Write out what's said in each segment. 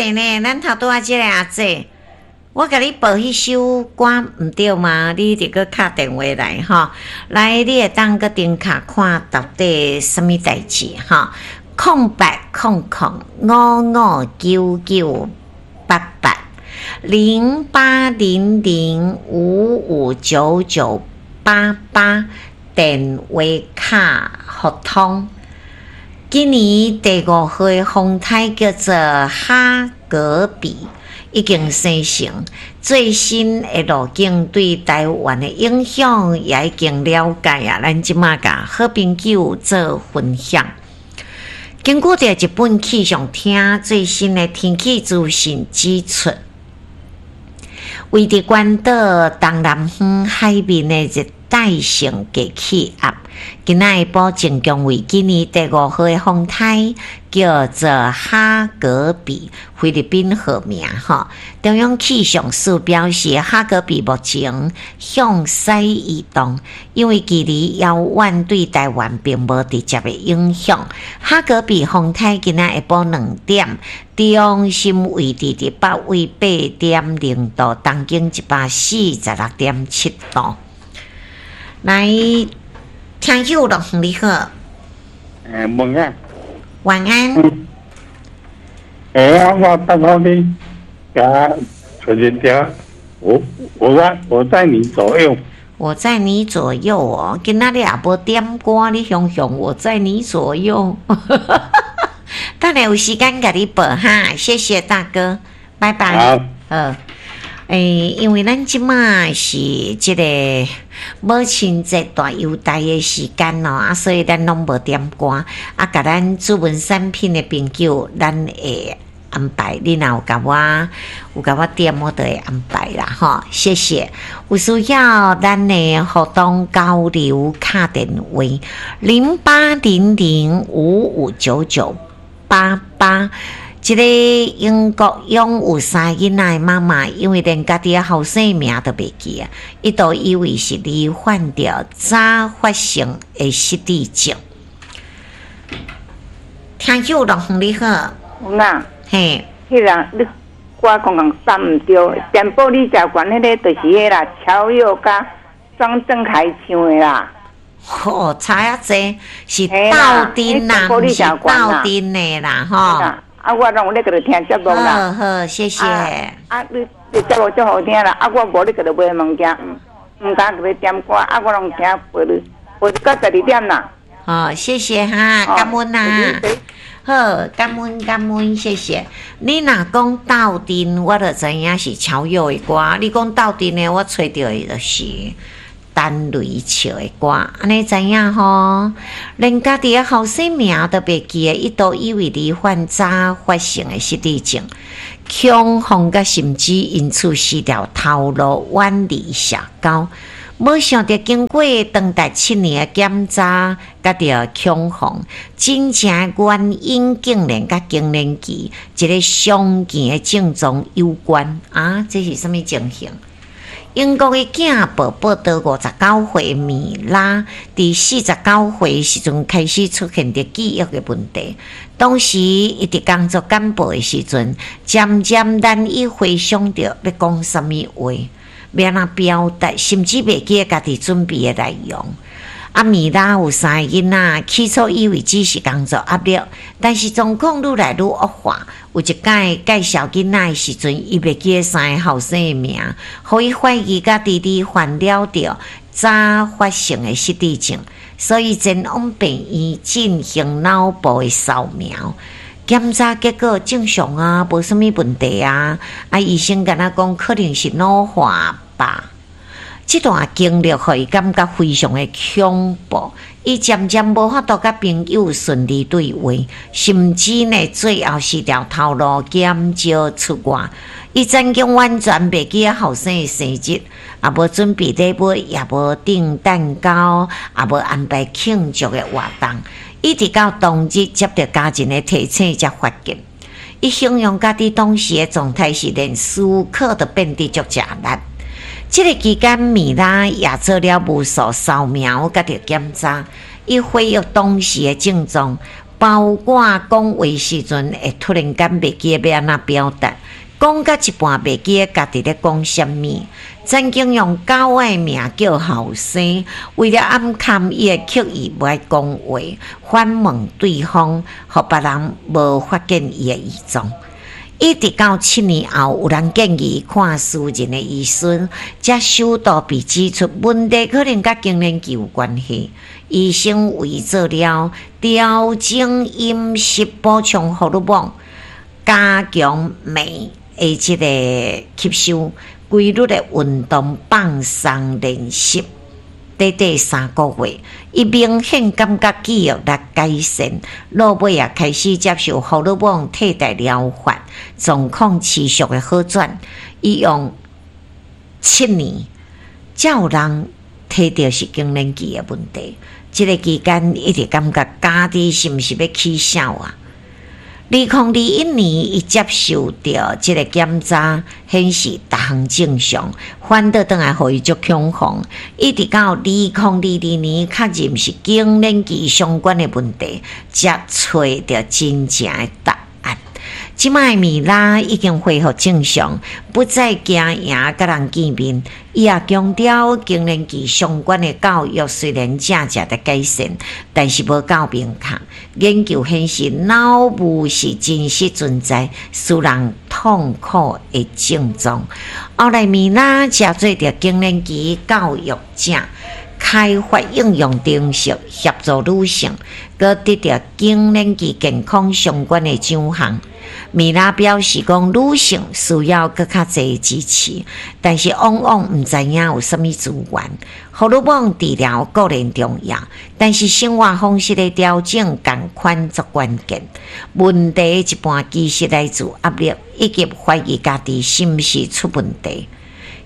濟呢，咱頭拄仔這个阿姐，我共你報彼首歌毋對嗎？你得閣敲電話來吼，來，你會當閣登卡看到底啥物代誌吼？0800559988，0800559988，電話卡互通。今年第五號的風颱叫做哈格比，已經生成。最新的路徑對台灣的影響也已經了解啊！咱這馬共好朋友做分享。根據著日本氣象廳最新的天氣資訊指出，位佇關島東南方海面的熱帶性低氣壓，今仔下晡增強為今年第五號的風颱，叫做哈格比，菲律賓號名吼。中央氣象署表示，哈格比目前向西移動，因為距離遙遠，對台灣並無直接的影響。哈格比風颱今仔下晡2點，中心位置佇北緯8.0度，東經146.7度。來，聽友樂你好。晚安。晚安。我剛剛你加陳人家，我在你左右。我在你左右哦，今仔日也無點歌，你雄雄我在你左右。等下有時間共你報哈，謝謝大哥，拜拜。好。好。因為咱這馬是這個母親節大優待的時間哦，啊，所以咱攏無點歌，啊，共咱主文產品的朋友，咱會安排。你若有共我點，我就會安排啦，吼，謝謝。有需要咱的互動交流，敲電話0800559988。這個英國擁有三个囡仔的媽媽，因為連家己的後生名都袂記啊，一度以為是罹患著早發性的失智症。聽友樂你好。啊。嘿。彼人你我講講三毋對，全部你食懸彼个就是彼啦，喬佑佮莊振凱唱的啦。吼，差遐濟，是鬥陣啦，毋是鬥陣的啦，吼。啊，我攏有咧閣咧聽節目啦。好好，謝謝。啊，你節目足好聽啦！啊，我無咧閣咧買物件，毋敢閣咧點歌。啊，我攏聽播咧，播到12點啦。好，謝謝哈，感恩啊。好，感恩感恩，謝謝。你若講鬥陣，我就知影是喬佑的歌。你講鬥陣的，我揣著的就是陳雷笑的歌，按呢知影吼？連家己的後生名都袂記得，一度以為罹患早發性的失智症，恐慌佮甚至因此失掉頭路，遠離社交。無想著經過長達7年的檢查，佮著恐慌，真正原因竟然佮更年期一个常見的症狀有關啊！這是啥物情形？英國的鏡報報導，59歲的米拉，佇49歲時陣開始出現著記憶的問題。當時伊佇工作簡報的時陣，漸漸難以回想著欲講啥物話，欲按怎表達，甚至袂記得家己準備的內容。啊，米拉有三個囡仔，起初以為只是工作壓力，但是狀況愈來愈惡化。有一擺介紹囡仔的時陣，伊袂記得三個後生的名，予伊懷疑家己罹患了著早發性的失智症，所以前往病院進行腦部的掃描檢查，結果正常啊，無啥物問題啊。啊，醫生敢若講可能是腦化吧。這段經歷予伊感覺非常的恐怖，伊漸漸無法度佮朋友順利對話，甚至呢最後失掉頭路，減少出外。伊曾經完全袂記得後生的生日，也無準備禮物，也無訂蛋糕，也無安排慶祝的活動。一直到當日接著家人的提醒才發現。伊形容家己當時的狀態是連思考都變得足吃力。這个期間，米拉也做了無數掃描佮著檢查，伊回憶當時的症狀，包括講話時陣會突然間袂記得欲按怎表達，講到一半袂記得家己咧講啥物。曾經用狗仔名叫後生，為了掩藏伊會刻意無愛講話，反問對方，予別人無發現伊的異狀。一直到7年後，有人建議看私人的醫生，才首度被指出問題可能佮更年期有關係。醫生為做了調整飲食、補充荷爾蒙、加強鎂的這个吸收、規律的運動、放鬆練習。短短3個月，伊明顯感覺記憶力改善，落尾也開始接受荷爾蒙替代療法，狀況持續的好轉。伊用七年，才有人提著是更年期的問題。這个期間一直感覺家己是毋是欲起痟啊？2021年，伊接受著這个檢查，顯示逐項正常，反倒轉來予伊足恐慌。一直到2022年確認是更年期相關的問題，才揣著真正的答案。這擺米拉已經恢復正常，不再驚贏佮人見面。伊也強調，更年期相關的教育雖然正正佇改善，但是無夠明確。研究顯示，腦霧是真實存在，使人痛苦的症狀。後來米拉成做著更年期教育者，開發應用程式協助女性，閣得著更年期健康相關的獎項。米拉表示講，女性需要閣較濟支持，但是往往毋知影有啥物資源。荷爾蒙治療固然重要，但是生活方式的調整仝款足關鍵。問題一半其實來自壓力，以及懷疑家己是毋是出問題。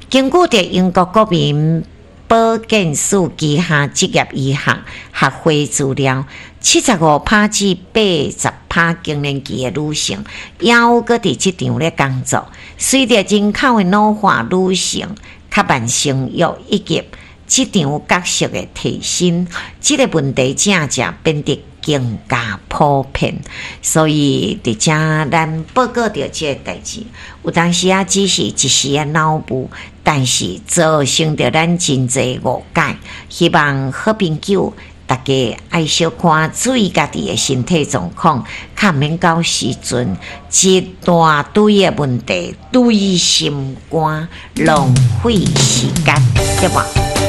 根據著英國國民保健署旗下職業醫學學會資料，75%至80%更年期的女性，猶閣佇職場咧工作。隨著人口的老化，女性較慢生育以及職場角色的提升，這个問題正正變得更加普遍。所以佇遮咱報告著這个代誌，有當時仔只是一時的腦霧，但是造成著咱真濟誤解。希望好朋友大家愛小看注意家己的身體狀況，較毋免到時陣一大堆的問題堆心肝，浪費時間，對無？